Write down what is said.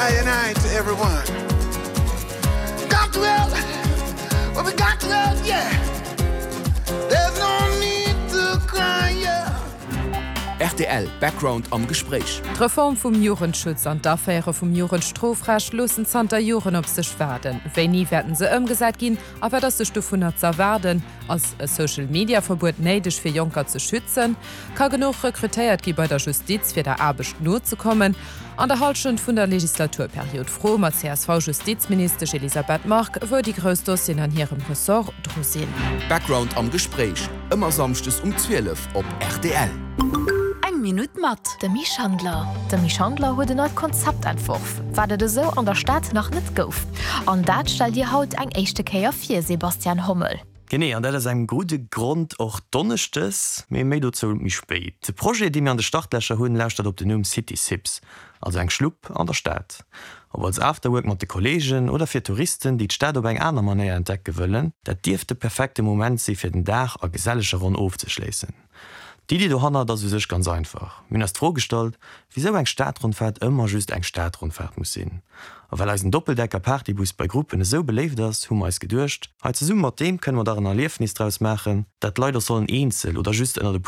I and I to everyone. Got to help, well, we got to help, yeah. There's no need to cry, yeah. Rtl Background am Gespréich. D'Reform vum Jugendschutz an d'Aféiere vum Jugendstrofrecht loossen zanter Joren op sech waarden. Wéini wäerten se ëmgesat ginn a wat ass sech dovunner z'erwaarden? Ass e Social-Media-Verbuet néideg fir Jonker ze schützen? Ka genuch rekrutéiert gi bei der Justiz fir der Aarbecht nozekommen? An der Hallschent vun der Legislaturperiod froe mer d'CSV-Justizministesch Elisabeth Margue, wou déi grouss Dossieren an hirem Ressort dru sinn. Background am Gespréich, ëmmer samschdes um 12 op rtl. Eng Minutt mat. De Mi Schandler. De Mi Schandler huet en neit Konzept entworf, wat et esou an der Stad nach net gouf. An dat stellt Dir haut eng éischte Kéier vir, Sebastian Hommel. Genee, an dat aus engem gudde Grond och donneschdes, mee méi dozou méi spéit. De Projet, dee mir an de Startlächer hunn, lauschtert op den Numm City Sips, also eng Schlupp an der Stad. Ob als Afterwork mat de Kolleegen oder fir Touristen, déi d'Stad op eng aner Manéier entdecke wëllen, dat dierft de perfekte Moment si fir den Dag a geselleger Ronn ofzeschléissen. D'Iddi dohannert ass u sech ganz einfach, Mir hunn eis d'Fro gestallt, wisou eng Stadrondfaart ëmmer just eng Stadrondfaart muss sinn. A well eisen Doppeldecker-Partybus bei Gruppen esou beléift ass, hu mer eis geduecht, hei zesumme mat deem kënne mer dach en Erliefnis draus maachen, dat d'Leit och sollen eenzel oder just ënnert e puer.